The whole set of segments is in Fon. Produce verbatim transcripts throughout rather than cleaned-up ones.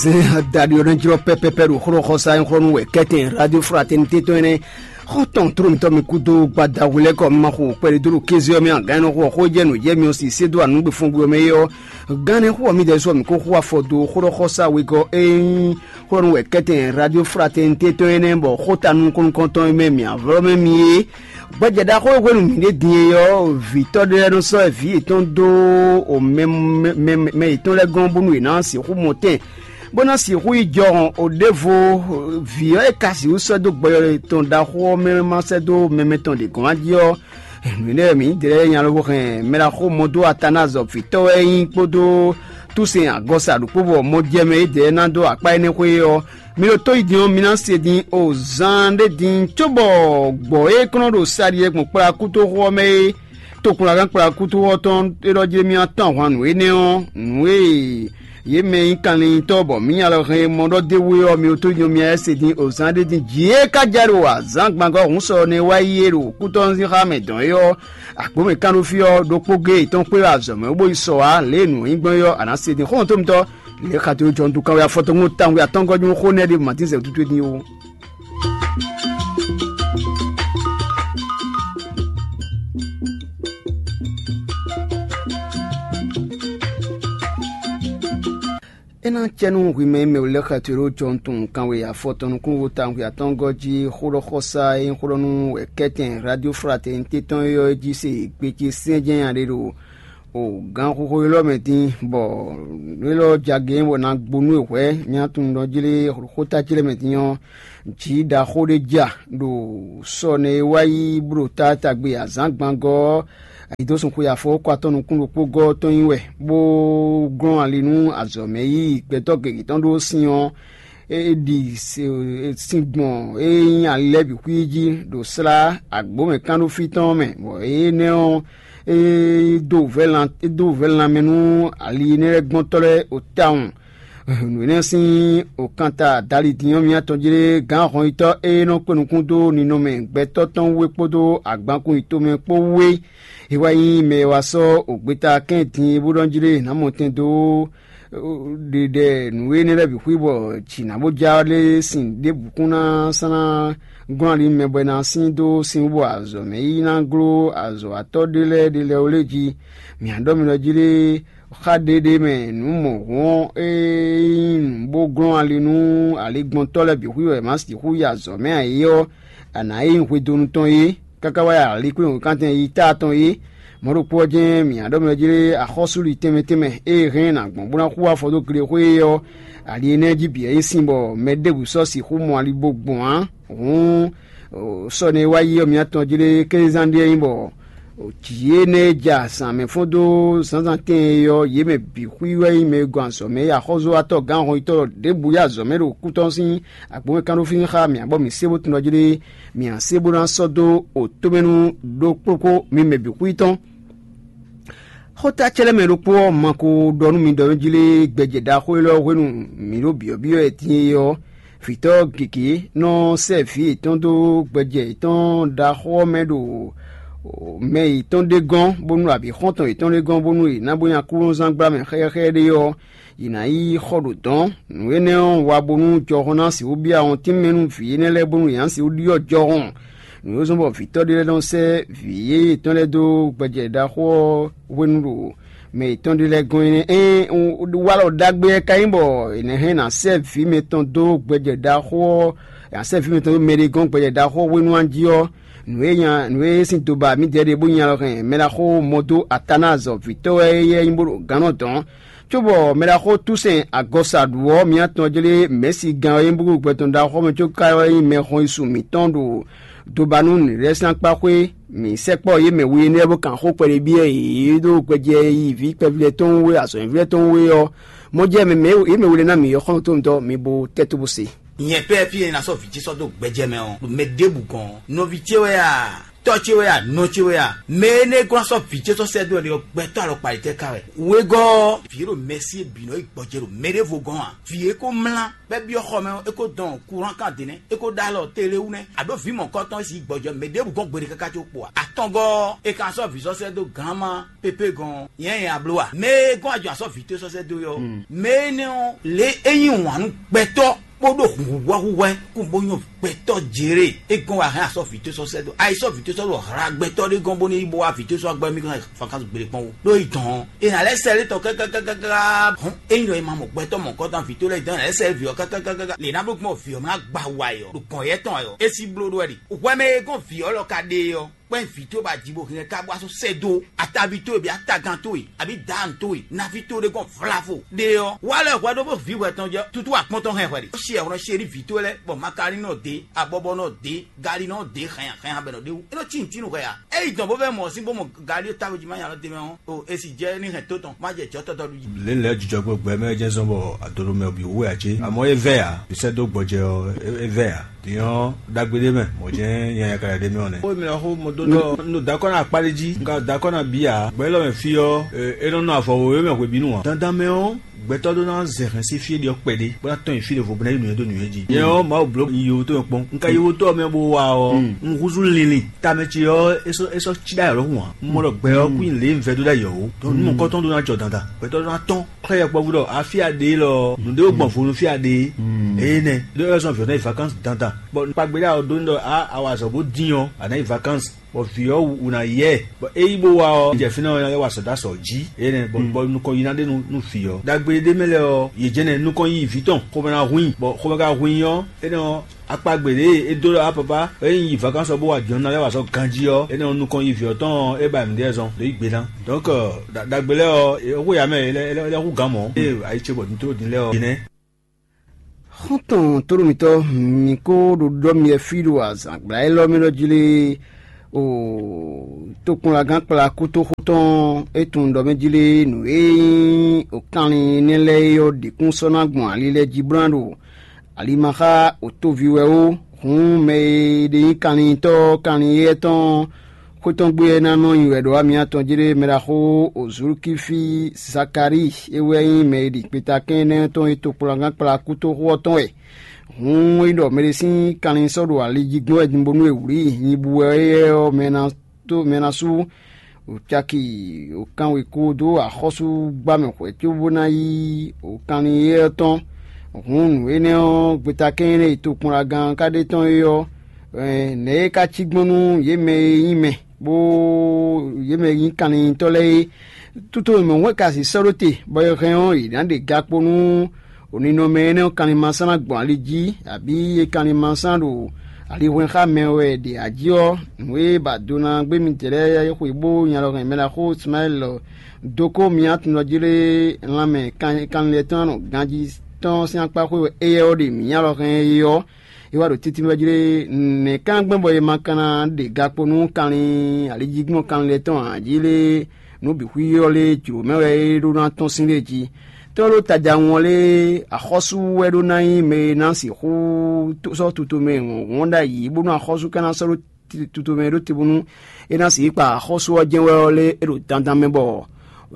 Zɛn adaɖi ɔ́ nɔ jlɔ́ pɛ́pɛ́pɛ́ ɖo xlɔ́xɔsá nyí xlɔ́ nú wɛ kɛ́tɛn Radio Fraternité tɔn énɛ́. Xɔ́ntɔn tló mǐtɔn mi kúdó gbada hwelɛ́kɔ mi ma xo kpɛɖé dó ɖo kéze ɔ́ mɛ a gǎn nɔ xo ɔ́ xó jɛ nǔ jɛ mi ɔ́ si sé dó anǔgbefɔngbe ɔ́ mɛ é ɔ́. Gán nɛ́ xo ɔ́ mi ɖɛ́ sɔ́ mǐ kó xo afɔ dó xlɔ́xɔsá wegɔ́ é nyí xlɔ́ nú wɛ kɛ́tɛn Radio Fraternité tɔn énɛ́ bɔ xó ta nukɔn-nukɔntɔn e mɛ mǐ avlɔ́ mɛ mi é. Gbɛjɛ ɖaxó e hwenu mǐ ɖe din e ɔ́, vǐtɔ́ ɖé lɛ́ɛ nɔ sɔ́ vǐ yětɔn dó mɛ mɛ yětɔn lɛ́ɛ gɔ́n bónú yě ná sixú mɔ tɛn, bó ná sixú yi jɔhɔn ǒ ɖěvo. Vǐ ɔ́ e ka sixú sɔ́ dó gbɔjɔ tɔn ɖaxó ɔ́ mɛ ma sɛ́ dó mɛmɛ tɔn ɖě gɔ́n jí ɔ́, nǔ énɛ́ wɛ mǐ ɖe lɛ́ɛ nya lobo hɛn mɛ ɖaxó mɔ dó Atanazɔ vǐtɔ́ wɛ é nyí kpódó Túsɛn agɔsa ɖokpó bɔ mɔ jɛ mɛ é ɖě ná dó akpá énɛ́ xwé ɔ́, mi ɖo tó yi din ɔ́, mi ná se din o zan ɖé din cóbɔ gbɔ̌ e kɔn nɔ ɖo saɖi e gbɔn kplá kútóxo ɔ́ mɛ é, tokplɔ́gán kplá kútóxo ɔ́ tɔn é ɖɔ jí mì tɔn ahwan nǔ énɛ́ ɔ́, nǔ e yě mɛ nyí kanlintɔ́ bɔ mǐ nya lɔ hɛn e mɔ ɖɔ d'é wú é ɔ́, mi ɖo tó yi din ɔ́, mi ná se din o zan ɖé din jǐ e ka jɛ ɖo azǎn gbangɔ́ hǔn sɔ nɛ́ wá yi é ɖo kútɔ́ sín xá mɛ dɔn é ɔ́, agbǒmɛ kánɖófí ɔ́ ɖokpó géé yětɔn kpé wɛ azɔ̌ mɛ bó yi sɔ wá lě e nǔ nyí gbɔn é ɔ́, a nǎ se din xɔ́ntɔn mitɔ́. Lě e xato jɔntu kanwe afɔtɔ́ tɔn tawun wɛ atɔ́ngɔ́ nyún xó nɛ́ ɖe Matín zɛ̌ tutwe din ó. É ná cɛ nú hwi mɛ e mɛ wǔ lɛ́ xɛtwě ɖó jɔnutun kanwe afɔtɔn nukúnvo tawun atɔ́ngɔ́ jí xó ɖɔ xɔsá e nyí xó ɖɔ nú wɛ̌kɛ́tɛn Radio Fraternité tɔn é ɔ́ jí se gbe ce syɛ́njɛ́n nya ɖé ɖo o gǎnxoxo élɔ́ mɛ dín, bɔ nǔ élɔ́ jagě bɔ ná gbo nú e hwɛ̌ nyatun ɖɔ jlé xóta ce lɛ́ɛ mɛ dín ɔ́, jǐ ɖaxó ɖé ja ɖo sɔ nɛ e wá yi bó ɖo taatagbe azǎn gbangɔ́ ɔ́, ayǐdósun xwe afɔwɔ́kɔ atɔ́ nukún ɖokpó gɔ́ ɔ́ tɔn nyi wɛ, bó glɔ́n ali nú azɔ̌ mɛ yíyí gbɛtɔ́ gěgé tɔn ɖó sin ɔ́, é ɖi sin gbɔn e nyí ali lɛ́ɛ bǐ xwí jí ɖo slá agbǒmɛ kánɖófí tɔn ɔ́ mɛ, bɔ énɛ́ ɔ́, é dó vɛ̌ lan é dó vɛ̌ lanmɛ nú ali énɛ́ lɛ́ɛ gbɔ́ntɔ́ lɛ́ɛ o tawun. Nǔ énɛ́ sín òkanta dali din ɔ́ mì atɔn jlé gǎn hɔnyitɔ́ e nɔ kpé nukún dó ninɔmɛ gbɛtɔ́ tɔn wú é kpódó agbankún yětɔn mɛ kpó wú é. É wá nyí mɛ e wá sɔ́ ògbeta kɛ́n din é bó ɖɔ jlé nǎ mɔ tɛn dó ɖiɖɛ nǔ énɛ́ lɛ́ɛ bǐ xwí bɔ jǐ ná bó já lé sin ɖěbǔ kún ná sán ná glɔ́n ali mɛ bɔ é ná sín dó sin wú bɔ azɔ̌ mɛ yí ná gló azɔ̌watɔ́ ɖé lɛ́ɛ ɖé lɛ́ɛ ó lé jí. Mǐ á ɖɔ mi ɖɔ jí lé xá ɖéɖé mɛ nǔ mɔ̌hun ɔ́, é nyí nǔ bó glɔ́n ali nú aligbɔntɔ́ lɛ́ɛ bǐ xwí wɛ è má sixú yi azɔ̌ mɛ ǎ é ɔ́, a nǎ é nyí hwedonu tɔn é, káká wá yi alikwín wěkántɛn yi táa tɔn é. Mɔ̌ ɖokpó ɔ́ jɛ́n mǐ á ɖɔ mɛ jí axɔ́súɖi tɛnmɛ tɛnmɛ e hɛn nǎ gbɔn bó ná xú afɔ dó glexwé é ɔ́, ali énɛ́ jí bǐ wɛ nyí sin bɔ mɛ ɖěbǔ sɔ́ sixú mɔ ali bó gbɔn ǎ. Hǔn sɔ́ nɛ́ wá yi ɔ́, mǐ atɔn jí ɖé kézán ɖíe nyí bɔ jǐ énɛ́ e ja zǎn mɛ fɔ́n dó zǎnzǎn tɛn e ɔ́, yě mɛ bǐ xwí wɛ nyí mɛ e gɔn azɔ̌ mɛ e axɔ́zɔ́watɔ́ gǎn hɔnyitɔ́ ɖěbǔ yi azɔ̌ mɛ ɖo kútɔ́ sín agbǒmɛ kánɖófín xá mǐ abɔ mǐ sé bó tunɔ jí ɖé. Mǐ a sé bó ná sɔ́ dó o tómɛnu ɖokpókpó mi mɛ bǐ xwí tɔn. Xóta ce lɛ́ɛ mɛ ɖokpó ɔ́ ma ko ɖɔ nú mi ɖɔ jí lé gbɛjɛ ɖaxó élɔ́ hwenu mǐ ɖo byɔ̌byɔ́ ɛ din é ɔ́, vǐtɔ́ gěgé nɔ sɛ́ vǐ yětɔn dó gbɛjɛ yětɔn ɖaxó ɔ́ mɛ ɖo mɛ yětɔn ɖé gɔ́n, bónú abǐ xɔ́ntɔn yětɔn ɖé gɔ́n, bónú è nǎ bó nyi aklúnɔzán gbla mɛ xɛxɛxɛ ɖé ɔ́, yě ná yi xɔ ɖo dɔ̌n. Nǔ énɛ́ ɔ́, wa bónú jɔhɔn ná sixú byɔ́ awɔntín mɛ nú vǐ énɛ́ lɛ́ɛ bónú yě ná sixú ɖyɔ́ jɔhɔn. Nǔ e zɔ́n bɔ vǐtɔ́ ɖé lɛ́ɛ nɔ sɛ́ vǐ yéyé yětɔn lɛ́ɛ dó gbɛjɛ ɖaxó ɔ́ hwenu ɖo mɛ yětɔn ɖé lɛ́ɛ gɔ́n é nɛ́. Ée un wa alɔ ɖagbe ɔ́ ka nyí bɔ è nǎ hɛn ná sɛ́ vǐ mɛtɔn dó gbɛjɛ ɖaxó ɔ́, ná sɛ́ vǐ mɛtɔn dó mɛɖé gɔ́n gbɛjɛ ɖaxó ɔ́ hwenu ɔ́ jí ɔ́, nǔ e nya nǔ e sín doba mǐdɛɛ ɖe bó nya lɔ hɛn mɛ ɖaxó mɔ dó Atanazɔ vǐtɔ́ wɛ é nyí bó ɖo gǎn nɔ dɔn. Cóbɔ mɛ ɖaxó Túsɛn agɔsa ɖu ɔ́, mǐ atɔn jlé mɛ̌si gán ɔ́ e nyí búgúgbɛtɔ́ ɖaxó mɛ có ká wɛ nyí mɛxɔnyísun mǐtɔn ɖo doba nú nǔɖésɛ́nkpáxwé. Mǐ sɛkpɔ́ yě mɛ we énɛ́ bó kan xó kpɛɖé byɔ́ yě ɖó gbɛjɛ yi vǐ kpɛví lɛ́ɛ tɔn wú é, azɔ̌mɛví lɛ́ɛ tɔn wú é ɔ́, mɔ jɛ mɛ mɛ yě mɛ we lɛ́ɛ ná mǐ ɔ́ xɔ́ntɔn mi bo tɛ́ tó bó se. Nyɛ pɛ́ fí e ná sɔ́ vǐ ce sɔ́ dó gbɛjɛ mɛ ɔ́, ɖo mɛ ɖěbǔ gɔ́n nɔví ce wɛ a? Tɔ́ ce wɛ a, nɔ ce wɛ a, mɛ énɛ́ e gɔ́n ná sɔ́ vǐ ce sɔ́ sɛ́ dó wɛ ɖe ɔ́, gbɛtɔ́ alɔkpa yětɛn ka wɛ? Wegɔ́ ɔ́, vǐ e ɖo mɛsí e bǐ nɔ yi gbɔjɛ ɖo mɛ ɖěvo gɔ́n ǎ. Vǐ e ko mlá bɔ é byɔ́ xɔ mɛ ɔ́, é ko dɔn kuran kan dě nɛ́, é ko ɖó alɔ tele wú nɛ́, aɖǒ vǐ mɔ̌kɔtɔn e sixú gbɔjɛ mɛ ɖěbǔ gɔ́n gbeɖé káká có kpo ǎ. Atɔngɔ́ ɔ́, è ka sɔ́ vǐ sɔ́ sɛ́ dó gǎn ma pépé gɔ́n ɔ́, nyɛ nyɛ a bló a? Mɛ e gɔ́n ajɔ asɔ́ vǐ towe sɔ́ sɛ́ dó é ɔ́, mɛ énɛ́ ɔ́, lě é nyí wǎn nú gbɛtɔ́ bó ɖo hǔnhúhwɛ́húhwɛ́ kún bó nyɔ́ gbɛtɔ́ Jerée, é gɔ́n wá hɛn asɔ́ vǐ towe sɔ́ sɛ́ dó. Ayi sɔ́ vǐ towe sɔ́ ɖo hla gbɛtɔ́ ɖé gɔ́n bónú é yi bó wá vǐ towe sɔ́ agbɛ́ mì kan fakansu gbeɖé kpɔ́n wú. Ɖó yi dɔn ɔ́, è nǎ lɛ́ sɛ lé tɔn kákákáká. Hɔn ényí ɖɔ è ma mɔ gbɛtɔ́ mɔ̌kɔtɔn vǐ towe lɛ́ɛ dɔn, è nǎ lɛ́ sɛ vǐ ɔ́ kákákáká. Lě ná bló gbɔn vǐ ɔ́ má gba wa ɛ ɔ́, ɖo gɔ̌n yɛ́ tɔn ɛ ɔ́, é sí bló ɖó wɛ ɖe. Hwɛ mɛ e gɔ́n vǐ ɔ́ lɔ ka ɖe é ɔ́, kpɛ́n vǐ towe bɔ a ji bo hɛn ɛ ká bó wá sɔ́ sɛ́ dó ataví towe bǐ atagan towe, abǐ dǎan towe, naví towe ɖé gɔ́n vlavo ɖe ɔ́, wá lɛ́ hwɛ ɖó bó vǐ hwɛ tɔn jɛ tútú akpɔ́n tɔn hɛn hwɛ ɖe. Ó si ɛhwlɔ́n chéri vǐ towe lɛ́ɛ, bɔ makalinɔ dě, abɔbɔnɔ dě, galinɔ dě, hɛn hɛn abɛnɔ ɖé wú. É nɔ cí nǔtínú hwɛ ǎ. Ényí dɔn bó vɛ́ mɔ sín bó mɔ gali e távo jí má nya lɔ d'é mɛ ɔ́, o e si jɛ ní hɛn tó tɔn má jɛ jɔ̌ tɔtɔ́ ɖu jí. Lě lɛ́ɛ jijɔ kpó gbɛ mɛ jɛ́n zɔ́n bɔ adolo mɛ bǐ wú wɛ ǎ cé? Amɔ̌ é vɛ́ ǎ, bǐ sɛ́ dó gbɔjɛ ɔ́, é vɛ́ ǎ. Din ɔ́, ɖagbe ɖé mɛ, mɔ̌ jɛ́n nyanya ka ɖe mɛ ɔ́ nɛ́. Xó mɛ ɔ́ xó mo dó ɖɔ un ɖo dakɔ́ ná akpá ɖé jí, un ka ɖo dakɔ́ ná bǐ ǎ. Gbɛ̌ élɔ́ mɛ fí ɔ́, é nɔ nɔ avɔ wěwé mɛ hwebǐnu ǎ. Dandan mɛ ɔ́, gbɛtɔ́ ɖó ná zɛ hɛn sín fí e ɖe ɔ́ kpɛɖé, bó ná tɔ́n nyi fí ɖěvo bó ná yi nǔnywɛ́ dó nǔnywɛ́ jí. Nyɛ ɔ́, Mawu bló yiwotó mɛ kpɔ́n. Un ka yiwotó ɔ́ mɛ bó wa ɔ́, un húzú linlin tamɛ ce ɔ́, é sɔ́ é sɔ́ cí ɖó ayɔ̌lɔ́hun ǎ. Un mɔ ɖɔ gbɛ ɔ́ kún nyi lě e un vɛ́ dó ɖó ayɔ̌ ó. Dɔn nú mɔ̌kɔtɔn ɖó ná jɔ dandan. Gbɛtɔ́ ɖó ná tɔ́n xlɛ́ yɔkpɔ́vú ɖɔ afí a ɖe élɔ́ ɔ́, nǔɖé ó gbɔn vo nú fí a ɖe é. Énɛ́ ɖó é wɛ zɔ́n vǐ ɔ́ ná yi vacances dandan. Bɔ kpagbe ɖé a ɔ ɖó ní ɖɔ a a wa azɔ̌ bó dín ɔ́, a nǎ yi vacances. Bɔ vǐ ɔ́ wǔ ná yi ɛ, bɔ é yí bó wá ɔ́, jɛ fínɛ́ ɔ́, é wá sɔ̌ dó asɔ jí. Énɛ́ bɔ bɔ nukɔn yi ná ɖe nú nú vǐ ɔ́. Ɖagbe ɖé mɛ lɛ́ɛ ɔ́, yě jɛ́nɛ nukɔn yi vǐ tɔn, xomɛ ná hu i, bɔ xomɛ ka hu i ɔ́, énɛ́ ɔ́, akpagbe ɖě e é dó ɖɔ á papa é nyí yi vakansu ɔ́ bó wa jɔ̌n ná lɛ́ wa sɔ́ ganjí ɔ́, énɛ́ ɔ́ nukɔn yi vǐ ɔ́ tɔn ɔ́, é ba nǔɖé zɔn ɖo yí gbe ná. Donc ɖagbe lɛ́ɛ ɔ́, é xó ya mɛ é lɛ́ hú gǎn mɔ̌, ée ayi ce bɔ nutó din lɛ́ɛ ɔ́, é nɛ́. Xɔ́ntɔn tóɖo mǐtɔn, mǐ kó ɖo ɖɔ mi fí ɖo azǎngbla élɔ́ mɛ ɖɔ jí lé, o tokpɔnlagán kplá kútóxó tɔn é tunwun ɖɔ mɛ jí lé, nǔ e nyí o kanlin nɛ́ lɛ́ɛ é ɔ́ ɖě kún sɔ́ ná gbɔn ali lɛ́ɛ jí bó ná ɖo alimaxá o tóvi wɛ ó. Hǔn mɛ e ɖe nyí kanlintɔ́ kanlin éyɛ́ tɔn xwé tɔn gbe ɔ́ ná nɔ nyi wɛ ɖo amyɛ tɔn jí ɖé. Mɛ ɖaxó Ozulukífi Zakalíi é wɛ nyí mɛ e ɖi kpetakɛn énɛ́ tɔn e tokpɔnlagán kplá kútóxó ɔ́ tɔn wɛ. Hǔn é ɖɔ mɛɖé sín kanlin sɔ́ ɖo ali jí gbɔn wɛ din bónú è wlǐ i nyibu wɛ éyɛ́ ɔ́, mɛ ná tó mɛ ná sú o caki o kanwekó dó axɔ́súgbámɛ hwɛ̌ cóbó ná yí o kanlin éyɛ́ ɔ́ tɔn. Hǔn nǔ énɛ́ ɔ́, gbeta kɛ́n énɛ́ e tokpɔnlagán ka ɖe tɔn é ɔ́, nɛ̌ é ka cí gbɔn nú yě mɛ e nyí mɛ, bó yě mɛ e nyí kanlintɔ́ lɛ́ɛ é? Tutomɛ wɛn ka sixú sɔ́ ɖó te, bɔ è hɛn ɔ́, è nǎ ɖe gakpo nú o ninɔmɛ énɛ́ ɔ́ kanlin masán ná gbɔn ali jí, abǐ e kanlin masán ɖo alihwɛn xá mɛ wɛ è ɖe ají ɔ́, nǔ e ba do ná gbé mitɛ́ lɛ́ɛ xweyǐgbo nyalɔhɛn mɛ ná xó Ismaɛ́li dó kó myátɔn jí lé lanmɛ kanlin lɛ́ɛ tɔn nɔ ganjí tɔn sín akpá xwé wɛ éyɛ́ ɔ́ ɖe mǐ nyalɔhɛn é ɔ́, é wá ɖo títí wɛ jí lé. Nɛ̌ ka gbɛ́ bɔ è ma ka ná ɖe gakpo nú kanlin alijígbɔ́n kanlin lɛ́ɛ tɔn ǎ jí lé? Nǔ bǐ xwí ɔ́ lé jlǒ mɛ wɛ é ɖó ná tɔ́n sín lé jí. Tɔ́ ɖó taja ɔ́ lé, axɔ́sú wɛ ɖó ná nyí mɛ e ná sixú sɔ́ tutomɛ wɔ̌nwɔ́n ɖ'ayǐ, bónú axɔ́sú ka ná sɔ́ ɖó tutomɛ ɖó te bónú é ná sixú kpa axɔ́sú ɔ́ jɛ́n wɛ ɔ́ lé, é ɖo dandan mɛ bɔ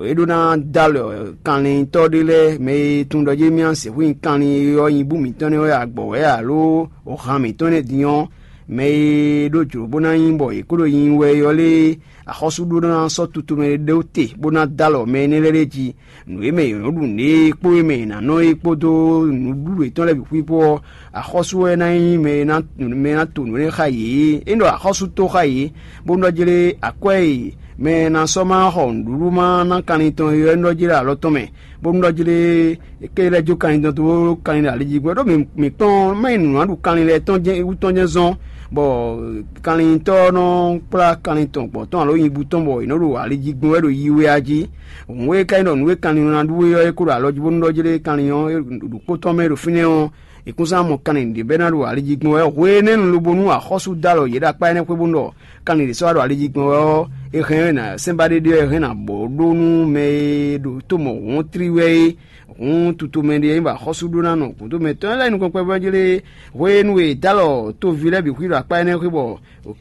é ɖó ná dó alɔ kanlintɔ́ ɖé lɛ́ɛ, mɛ e tunwun ɖɔ jí mì sixú nyí kanlin e ɔ́ nyibú mǐtɔn nɛ́ wɛ agbɔ̌ wɛ alo han mǐtɔn nɛ́ din ɔ́, mɛ e ɖó jlǒ bó ná nyí bɔ è kó ɖo nyi wɛ é ɔ́ lé, axɔ́sú ɖó ná sɔ́ tutomɛ ɖó te bó ná dó alɔ mɛ énɛ́ lɛ́ɛ ɖ'é jí. Nǔ e mɛ è nɔ́ ɖu nǔɖé kpó e mɛ è nǎ nɔ é kpódó nǔɖuɖu yětɔn lɛ́ɛ bǐ xwíxwó ɔ́, axɔ́sú wɛ ná nyí mɛ e ná mɛ e ná to nǔ énɛ́ xá yě. É ɖɔ axɔ́sú tó xá yě, bó nɔ́ jlé akwɛ́ e mɛ e ná sɔ́ má xɔ nǔɖuɖu má ná kanlin tɔn é ɔ́, é nɔ́ jlé alɔ tɔn mɛ, bó nɔ́ jlé ké lɛ́ jó kanlin tɔn dó kanlin ɖo ali jí gbɔn. Ɖó mǐ kpɔ́n má nyí nǔ ná ɖu kanlin lɛ́ɛ tɔn jɛ́n wú tɔn jɛ́n zɔ́n, bɔ kanlintɔ́ ɔ́ nɔ kplá kanlin tɔn gbɔ̌ tɔn alo nyibú tɔn bɔ è nɔ́ ɖo ali jí gbɔn wɛ ɖo yi wɛ a jí. Hǔn e ka nyí ɖɔ nǔ e kanlin ná ɖu é ɔ́, é kó ɖo alɔ jí bónú ɖɔ jí ɖé kanlin ɔ́ ɖo kpó tɔn mɛ ɖo fínɛ́ ɔ́, è kún sɔ́ ná mɔ kanlin ɖě bɛ́ ná ɖo ali jí gbɔn wɛ. Hwenɛ́nu lobo nú axɔ́sú dó alɔ yě ɖo akpá énɛ́ xwé bónú ɖɔ kanlin ɖě sɔ́ wá ɖo ali jí gbɔn wɛ ɔ́, é hɛn ná sɛ́n ba ɖéɖé ɔ́, é hɛn ná bɔ ɖó nú mɛ e ɖo tó mɔ hǔn tlí wɛ é. Hǔn tutomɛ ɖé e nyí bɔ axɔ́sú ɖó ná nɔ gǔdo mɛ tɔn lɛ́ɛ nukɔn kpɛvɔ́ jlé hwenu e è dó alɔ toví lɛ́ɛ bǐ xwí ɖo akpá énɛ́ xwé bɔ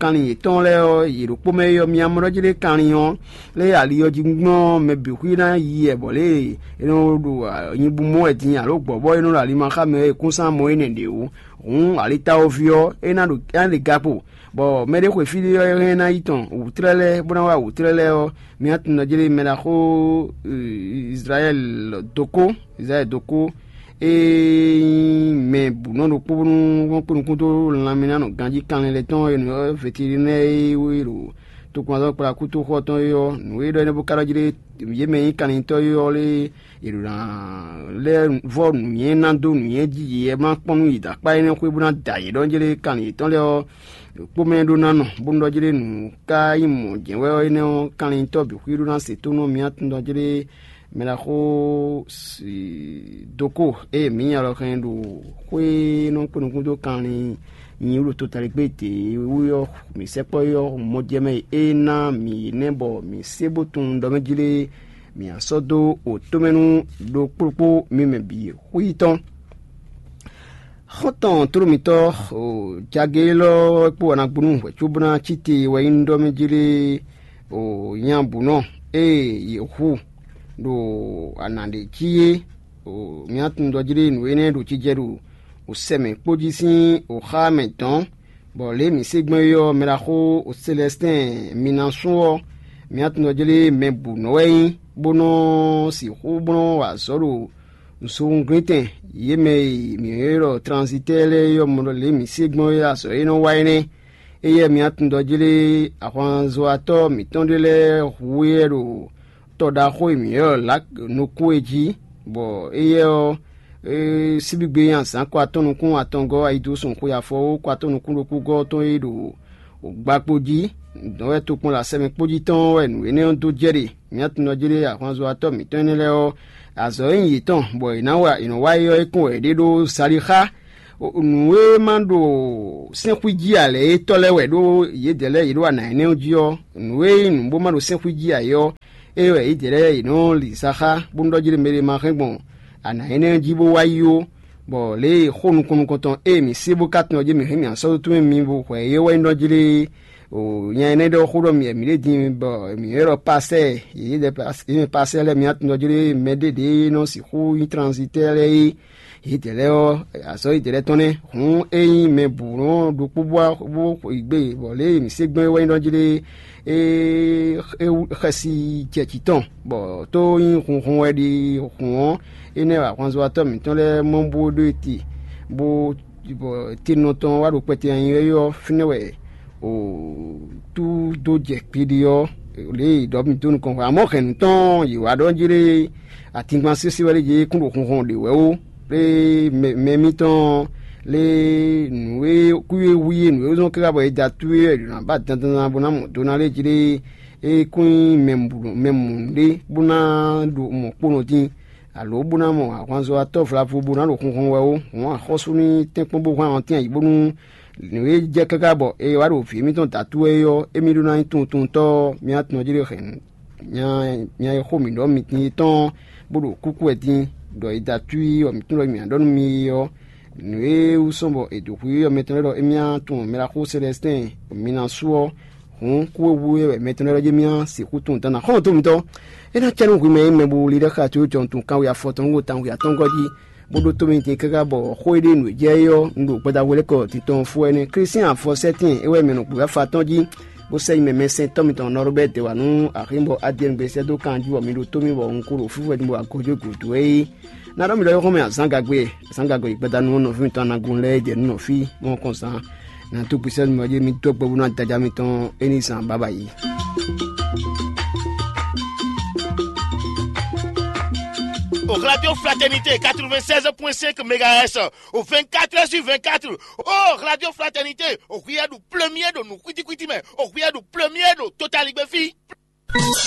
kanlin yětɔn lɛ́ɛ ɔ́, yě ɖo kpó mɛ é ɔ́, mi amlɔ jlé kanlin ɔ́, lé ali ɔ́ jí gbɔn mɛ bǐ xwí ná yi wɛ bɔ lě e è nɔ ɖo nyibú mɔ wɛ din alo gbɔ̌ bɔ é nɔ ɖo ali ma xá mɛ ɔ́, è kún sán mɔ énɛ́ ɖě ó. Hǔn alitáwoví ɔ́, é ná ɖo é ná ɖe gakpo, bɔ mɛ ɖé xwe fí ɖé ɔ́, é hɛn ná yi tɔn wǔtlɛ́ lɛ́ɛ bó ná wá wǔtlɛ́ lɛ́ɛ ɔ́, mi ná tunwun ɖɔ jlé mɛ ɖaxó Izlayɛ́li dókó, Izlayɛ́li dókó, e nyí mɛ bǔ nɔ ɖokpó bónú wọ́n kpé nukún dó lanmɛ ná nɔ ganjí kanlin lɛ́ɛ tɔn e nǔ ɔ́, veterinɛ́ɛ e wé ɖo tokpɔnzɔ́kplakútoxɔ tɔn é ɔ́, nǔ e ɖɔ énɛ́ bó ka ɖɔ jlé yě mɛ e nyí kanlintɔ́ é ɔ́ lé, yě ɖo ná lɛ́ vɔ́ nǔnywɛ́ ná dó nǔnywɛ́ jí yě ma kpɔ́n nú yi dó akpá énɛ́ xwé bó ná da yě ɖɔ jlé kanlin yětɔn lɛ́ɛ ɔ́, kpó mɛ ɖó ná nɔ, bónú ɖɔ jlé nǔ ka nyí mɔ̌ jɛ́n wɛ ɔ́, énɛ́ ɔ́, kanlintɔ́ bǐ xwí ɖó ná se tónú ɔ́, mi ná tunwun ɖɔ jlé mɛ ɖaxó doko ée mǐ nya lɔ hɛn ɖo xwé e nɔ kpé nukún dó kanlin nyi wú ɖo totaligbé dě wú ɔ́, mǐ sɛkpɔ́ ɔ́ mɔ jɛ mɛ e é ná mǐ nɛ́ bɔ mǐ sé bó tunwun ɖɔ mɛ jlé mǐ ná sɔ́ dó wǒtomɛnu ɖokpóɖokpó mi mɛ bǐ xwí tɔn. Xɔ́ntɔn tlóló mǐtɔn jagě élɔ́ wɛ kpó wanagbonu wɛ cóbó ná cí te wɛ nyí ɖɔ mɛ jlé nya bǔ nɔ ée yě hu ɖo ana ɖě jí é. Mǐ ná tunwun ɖɔ jlé nǔ énɛ́ ɖo jijɛ ɖo sɛ mɛ kpó jí sín xá mɛ dɔ̌n, bɔ lě e mǐ se gbɔn é ɔ́, mɛ ɖaxó Selɛstɛ́n Minasu ɔ́, mǐ ná tunwun ɖɔ jlé mɛ bǔ nɔ wɛ nyí, bó nɔ́ sixú bó nɔ́ wa azɔ̌ ɖo zowunglintɛn yě mɛ e mǐ ylɔ́ ɖɔ tranzitɛ́ɛ lɛ́ɛ é ɔ́ mɔ ɖɔ lě e mǐ se gbɔn é azɔ̌ e nɔ wa é nɛ́. Éyɛ́ mi ná tunwun ɖɔ jlé ahwanzɔ́watɔ́ mǐtɔn ɖé lɛ́ɛ hu éyɛ́ ɖo tɔ ɖaxó e mǐ ylɔ́ ɖɔ Lak nukún é jí, bɔ éyɛ́ ɔ́, é síbígbe nyi azǎn kɔ atɔ́ nukún atɔngɔ́ ayidosùn xwe afɔwú kɔ atɔ́ nukún ɖokpógɔ́ tɔn e ɖo gbakpo jí, dɔ̌n wɛ tokpɔn ɖo asɛ mɛ kpó jí tɔn wɛ nǔ énɛ́ ɔ́ dó jɛ ɖe. Mi ná tunwun ɖɔ jlé ahwanzɔ́watɔ́ mǐtɔn énɛ́ lɛ́ɛ ɔ́, azɔ̌ e nyí yětɔn bɔ è nǎ wa è nɔ wa é ɔ́, é kɔn wɛ yě ɖe ɖó Salixá. Nǔ e ma ɖo sɛ́nxwí jí ǎ lɛ́ɛ é tɔ́ lɛ́ɛ wɛ ɖó yědɛɛ lɛ́ɛ yě ɖo ana énɛ́ ɔ́ jí ɔ́, nǔ e nyí nǔ bó ma ɖo sɛ́nxwí jí ǎ é ɔ́, é wɛ yědɛɛ lɛ́ɛ yě nɔ li sa xá, bónú ɖɔ jí ɖé mɛ ɖé ma hɛn gbɔn ana énɛ́ ɔ́ jí bó wá yi ó. Bɔ lě e xó nukɔn nukɔntɔn e mǐ se bó ka tunwun ɔ́ jí mǐ hɛn mǐ ná sɔ́ dó tɔn mɛ mi bo hwɛ é wɛ nyí ɖɔ jí lé, o nya énɛ́ ɖɔ xó ɖɔ mǐ mǐ ɖe din bɔ mǐ ylɔ́ pasɛ́, yě ɖɛ pasɛ́ lɛ́ɛ mǐ ná tunwun ɔ́ jí lé mɛ ɖé ɖě nɔ sixú nyí tranzitɛ́ lɛ́ɛ é. Yědɛɛ lɛ́ɛ ɔ́, azɔ̌ yědɛɛ lɛ́ɛ tɔn nɛ́. Hǔn é nyí mɛ bǔ nɔ ɖokpó bó bó yi gbé, bɔ lě e mǐ se gbɔn é wɛ nyí ɖɔ jí lé, é é xɛsi jɛ jǐ tɔn, bɔ tó nyí hunhun wɛ ɖi hǔn ɔ́, énɛ́ wɛ ahwanzɔ́watɔ́ mǐtɔn lɛ́ɛ mɔ bó ɖó e te, bó bɔ tenɔ tɔn wá ɖo kpɛtɛ nyi é ɔ́, fínɛ́ wɛ o tú dó jɛ kpiɖi ɔ́, lě e ɖɔ mi dó nukɔn hwɛ. Amɔ̌ hɛ̌nnu tɔn yě wá ɖɔ jí lé atingban sésé wɛ lé yě kún ɖo hunhɔn ɖě wɛ ó. Lé mɛ mitɔn lé nǔ e kú e wú e nǔ e zɔ́n káká bɔ è da tú é ɖo nǎ ba dandan bó ná mɔ do ná lé jí lé é kún nyí mɛ mǔ ɖé bó ná ɖo mɔ̌ kponɔ dín, alo bó ná mɔ ahwanzɔ́watɔ́ vlavo bó ná ɖo hunhɔn wɛ ó. Hǔn axɔ́sú ní tɛ́nkpɔ́n bó hwán ɔ́ tɛ́n ayǐ bónú nǔ e jɛ káká bɔ è wá ɖo vǐ émítɔn dǎtú wɛ é ɔ́, émí ɖó ná nyí tunwuntunwuntɔ́ ɔ́, mía tɔn jí ɖe hɛ̌nnu. Nya e xó mǐ ɖɔ mi din é tɔn bó ɖo kúkú wɛ din, ɖɔ è dǎtú í ɔ́, mǐ tunwun ɖɔ mǐ ná ɖɔ nú mi é ɔ́, nǔ e wú sɔ́ bɔ è dǒ xwí ɔ́ mɛtɔn lɛ́ɛ ɖɔ émí ná tunwun mɛ ɖaxó Selɛstɛ́n Minasu ɔ́, hǔn kú e wú é wɛ mɛtɔn lɛ́ɛ ɖɔ jé mì ná sixú tunwun dan ná xɔ́ntɔn mitɔn. É ná cɛ nú hwi mɛ e mɛ bo li ɖɛ xá tó jɔn tun kanwe afɔtɔn nú tanwe atɔngɔ́ jí, bó ɖótó mi din káká bɔ xó e ɖe nǔ e jɛ é ɔ́, un ɖo gbadahwelɛ́kɔ titɔn fó ɛnɛ́. Klísián afɔsɛ́tɛn é wɛ mɛ nɔ gběwáfa tɔn jí, bó sɛ́ nyi mɛ mɛsɛntɔ́ mitɔn Nɔrubɛ́ dě wá nú axín bɔ Adiyɛ́ɛn gbe sɛ́ dó kan jí bɔ mi ɖo tó mì bɔ un ko ɖo fífɔ din bɔ agojo gǔdo é. Na ɖɔ mi ɖɔ é xɔ́mɛ azǎn gagbe, azǎn gagbe yi gbadanu ɔ́ nɔví mitɔn Anagun lɛ́ɛ jɛ nǔ nɔ fí mɔkɔn zan. Na dó gbesɛ mi ɔ́ jí mi dó gbɔ bó ná daja mitɔn é ní zan baba yi. Au Radio Fraternité quatre-vingt-seize point cinq mégahertz, au vingt-quatre heures sur vingt-quatre. Oh, Radio Fraternité, au Riyadu premier de nous, kwiti kwiti, mais au Riyadu premier de Total Igbefi.